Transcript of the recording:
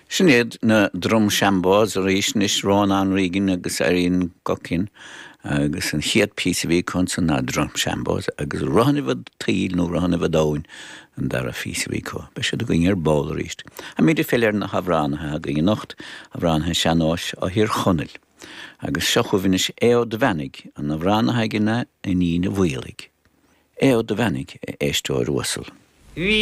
Sin iad na Drumshanboes arís anois, Rónán Regan agus Irene Guckian agus an chéad phíosa a bhí acu ansan ná Drumshanboes agus Rothannaibh an tSaoil nó Rothannaibh an Domhain an dara phíosa a bhí acu. Beidh siad againn ar ball arís. Táimid ag filleadh ar na hamhránaithe againn anocht, amhránaithe sean-nóis ó Thír Chonaill. Agus seo chugaibh anois Aodh Ó Duibheannaigh, an amhrán atá aige ná Iníon a' Mhaolaigh. Aodh Ó Duibheannaigh, a éisteoir uasal. Bhí.